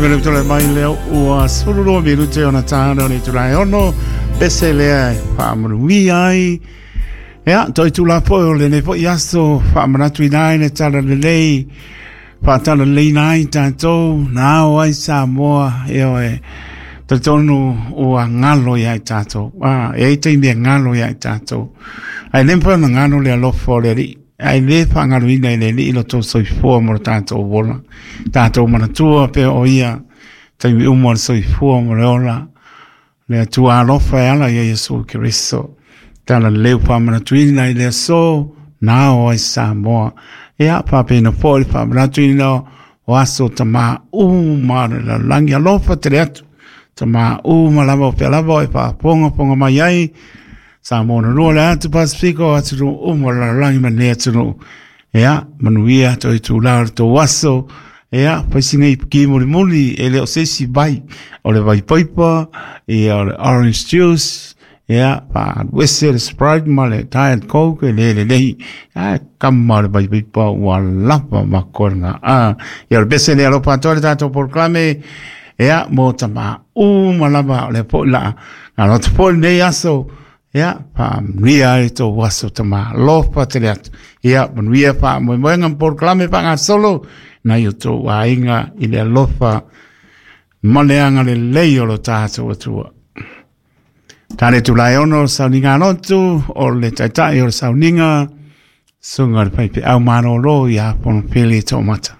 Le tole mai lea ua 12 minute ona tāna o le itula e ono, pese lea e whaamanuia ai. Ea, toi tū la poe o lenei foi aso, whaamanatu ina ai le tala lelei, whaatala lelei na ai tātou, nā o ai Samoa, e oe, talitonu ua ngalo ia i tātou. Ah, e ai taimi e ngalo ia i tātou. Ai le mawhai ona ngalo le alofa o le Alii. Ae le faagaloina e le Alii lo tou soifua mo lo tatou ola. Tatou manatua pea o ia taimi uma o le soifua mo le ola. Le Atua alofa e ala ia Iesu Keriso. Tala leu faamanatuina i le aso na ao ai Samoa. Ia, faapena foi le faamanatuina o aso tamā uma o le lalolagi. Alofa tele atu. Tamā uma lava o fea lava o e faafogafoga mai ai. Samoa na lua le atu Pasifika o atunuu uma o le lalolagi ma lenei atunuu. Ia, manuia toe itulā o le tou aso. Ia, fai sina ipuki mulimuli e le o se isi vai. O le vai paipa, ia o le orange juice, ia, faaluese le Sprite ma le Diet Coke e le lelei. Ae kama o le vai paipa ua lava ma koe lena. Ah, ia o le pese lea alofa atoa le tatou polokalame. Ia, mo tamā uma lava o lea foi la galo atu foi lenei aso. Ia, faamanuia ai tou aso tamā. Alofa tele atu. Ia, manuia faamoemoega ma polokalame faagasolo nai o tou aiga i le alofa ma le agalelei o lo tatou Atua. Tane tulae ono o sauniga lotu o le taitai o le sauniga, suga o le faifeau malōlō ia Fonopele Toomata.